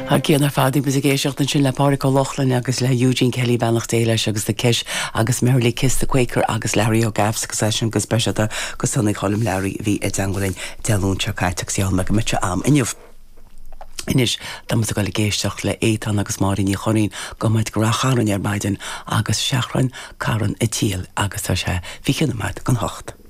Thar cionn ar fad, bhí muid ag éisteacht ansin le Pádraic Ó Lochlainn agus le Eugene Kelly, beannacht Dé leis, agus The Kesh agus Merrily Kiss the Quaker agus Learaí Ó Gaffs agus é sin go speisialta go Sonaí Choilm Learaí a bhí i dteangmháil linn Dé Luain seo caite agus gheall mé go mbeadh sé a'm inniu. Anois, tá muid ag dul ag éisteacht le Étáin agus Máire Ní Churraoin, gabhfaidh muid go Rath Chairn ar maidin agus Seachrán Carn a' tSiail agus tá sé 20 nóiméad don hocht.